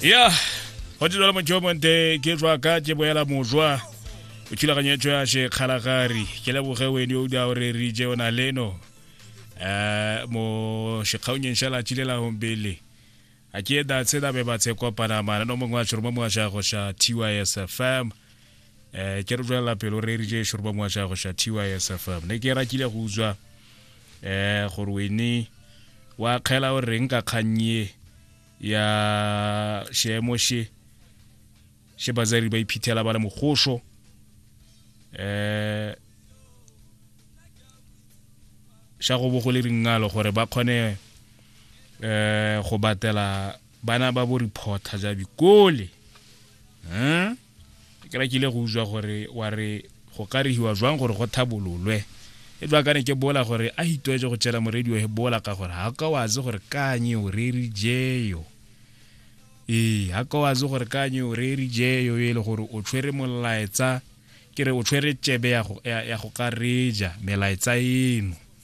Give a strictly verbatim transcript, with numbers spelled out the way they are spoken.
Ya go tse jalo motho monte ke jwa ka ke boela mojwa o thulaganyetso ya shekgalagari ke leboge wene o da ore re je ona leno eh mo shekgaonyeng sha la tšile la hombele a ke da tse da be ba tse kopana mana no mongwe wa tshoro mo wa go sha T Y S F M eh ke re jwela pelo re re je shoro mo wa go sha T Y S F M ne ke rakile go utswa eh gore wene wa kgela o reng ka kgannye ya shemo she she bazari ba iphithela ba le mogosho eh sha go bo go le ringalo gore ba khone eh go batela bana ba bo reporter ja bikole hm ke ra kile go utswa gore wa re go ka re hiwa jwang gore go thabololwe e jwa kana ke bola gore a hitwetse go tshela mo radio he bola ka gore ha ka wa ze gore kanye o re re jeyo e ha ka wa ze gore kanye o re re jeyo e le gore o tshwere molaetsa ke re o tshwere tsebe ya go ya go ka reja melaetsa eno